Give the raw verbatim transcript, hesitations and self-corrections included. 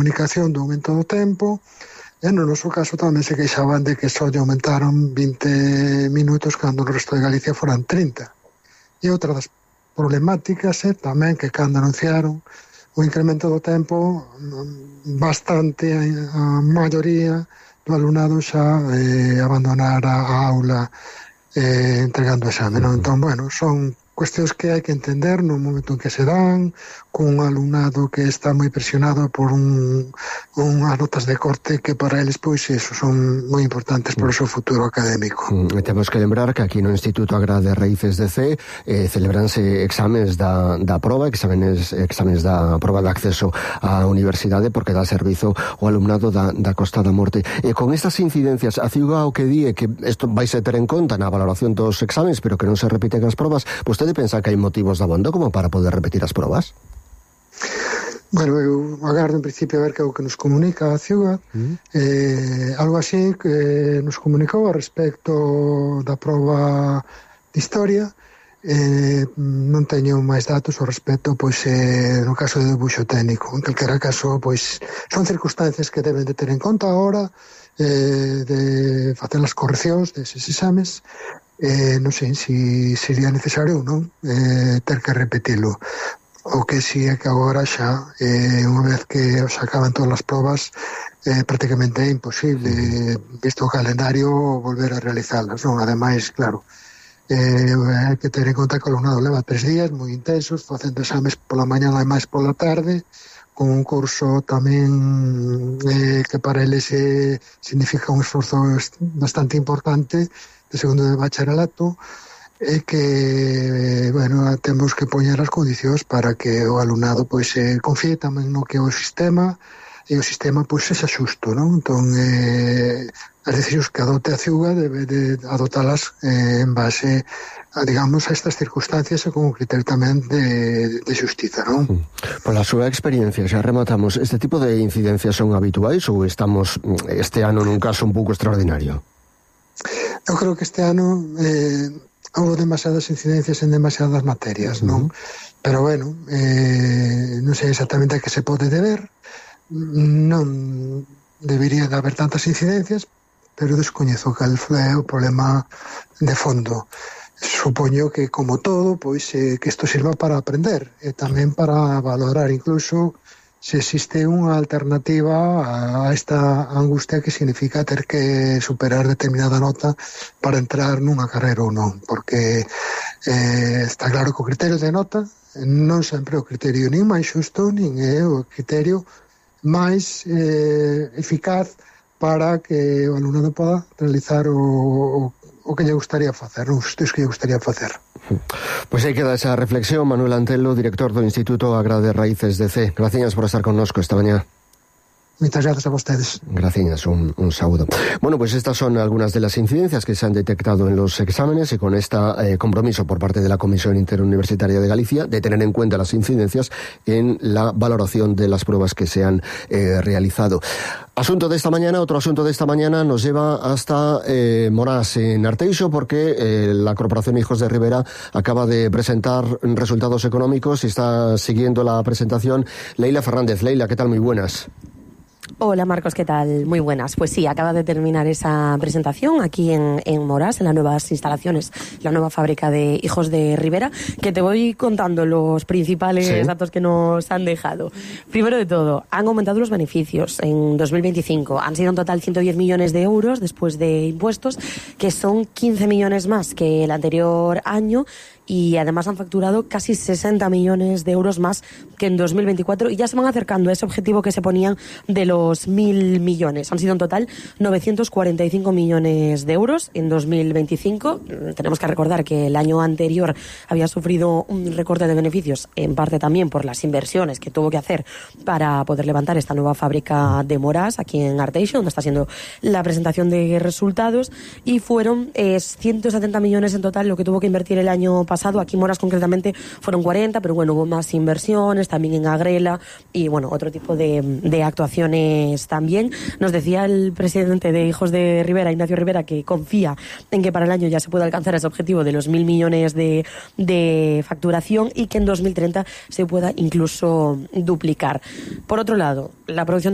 comunicación do aumento do tempo, e no noso caso tamén se queixaban de que só lle aumentaron vinte minutos cando no resto de Galicia foran trinta. E outra das problemáticas é tamén que cando anunciaron o incremento do tempo, bastante a maioría do alumnado xa eh, abandonar a aula eh, entregando o exame, non? Entón, bueno, son cuestións que hai que entender no momento en que se dan, cun alumnado que está moi presionado por un, unhas notas de corte que para eles, pois, eso, son moi importantes para o seu futuro académico. Mm, temos que lembrar que aquí no Instituto Agra de Raíces de C eh, celebranse exames da, da proba, exames, exames da proba de acceso á universidade, porque dá servizo ao alumnado da, da Costa da Morte. E con estas incidencias, a Ciuga o que di é que isto vais a ter en conta na valoración dos exames, pero que non se repiten as probas. Vostede pensa que hai motivos de abondo como para poder repetir as probas? Bueno, eu agardo en principio a ver que é o que nos comunica a Ciuga. Mm. eh, algo así que nos comunicou a respecto da proba de historia. Eh, non teño máis datos ao respecto, pois eh, no caso de debuxo técnico. En calquera caso, pois son circunstancias que deben de ter en conta agora, eh, de facer as correccións deses exames. Eh, non sei se sería necesario ou non eh, ter que repetilo. O que si é que agora xa, eh, unha vez que se acaban todas as probas, eh, prácticamente é imposible, visto o calendario, volver a realizalas, non? Ademais, claro, eh, hai que ter en conta que o alumnado leva tres días moi intensos, facendo exames pola mañá e máis pola tarde, con un curso tamén eh, que para eles eh, significa un esforzo bastante importante de segundo de bacharelato, e que, bueno, temos que poñer as condicións para que o alumnado pois eh, confíe tamén no que o sistema e o sistema pois sexa xusto, non? Entón, eh, as decisións que adote a Ciuga debe de adotalas eh, en base a, digamos, a estas circunstancias e con un criterio tamén de, de xustiza, non? Pola súa experiencia, xa rematamos, este tipo de incidencias son habituais ou estamos este ano nun caso un pouco extraordinario? Eu creo que este ano eh, houve demasiadas incidencias en demasiadas materias, non? Uh-huh. Pero, bueno, eh, non sei exactamente a que se pode deber, non debería de haber tantas incidencias, pero descoñezo cal é o problema de fondo. Supoño que, como todo, pois eh, que isto sirva para aprender e tamén para valorar incluso se existe unha alternativa a esta angustia que significa ter que superar determinada nota para entrar nunha carreira ou non, porque eh, está claro que o criterio de nota non sempre é o criterio nin máis xusto, nin é o criterio máis eh, eficaz para que o alumnado poda realizar o, o, o que lle gustaría facer, os estudos que lle gustaría facer. Pois aí queda esa reflexión. Manuel Antelo, director do Instituto Agra de Raíces de C. Gracias por estar connosco esta mañá. Muchas gracias a ustedes. Gracias, un, un saludo. Bueno, pues estas son algunas de las incidencias que se han detectado en los exámenes y con este eh, compromiso por parte de la Comisión Interuniversitaria de Galicia de tener en cuenta las incidencias en la valoración de las pruebas que se han eh, realizado. Asunto de esta mañana, otro asunto de esta mañana nos lleva hasta eh, Morás, en Arteixo, porque eh, la Corporación Hijos de Ribera acaba de presentar resultados económicos y está siguiendo la presentación Leila Fernández. Leila, ¿qué tal? Muy buenas. Hola Marcos, ¿qué tal? Muy buenas. Pues sí, acaba de terminar esa presentación aquí en, en Morás, en las nuevas instalaciones, la nueva fábrica de Hijos de Ribera, que te voy contando los principales sí. datos que nos han dejado. Primero de todo, han aumentado los beneficios en dos mil veinticinco. Han sido en total ciento diez millones de euros después de impuestos, que son quince millones más que el anterior año. Y además han facturado casi sesenta millones de euros más que en dos mil veinticuatro y ya se van acercando a ese objetivo que se ponían de los mil millones. Han sido en total novecientos cuarenta y cinco millones de euros en dos mil veinticinco. Tenemos que recordar que el año anterior había sufrido un recorte de beneficios, en parte también por las inversiones que tuvo que hacer para poder levantar esta nueva fábrica de Morás aquí en Arteixo, donde está haciendo la presentación de resultados, y fueron eh, ciento setenta millones en total lo que tuvo que invertir el año pasado. Aquí en Morás concretamente fueron cuarenta, pero bueno, hubo más inversiones también en Agrela y bueno, otro tipo de, de actuaciones exámenes también. Nos decía el presidente de Hijos de Rivera, Ignacio Rivera, que confía en que para el año ya se pueda alcanzar ese objetivo de los mil millones de, de facturación y que en dos mil treinta se pueda incluso duplicar. Por otro lado, la producción de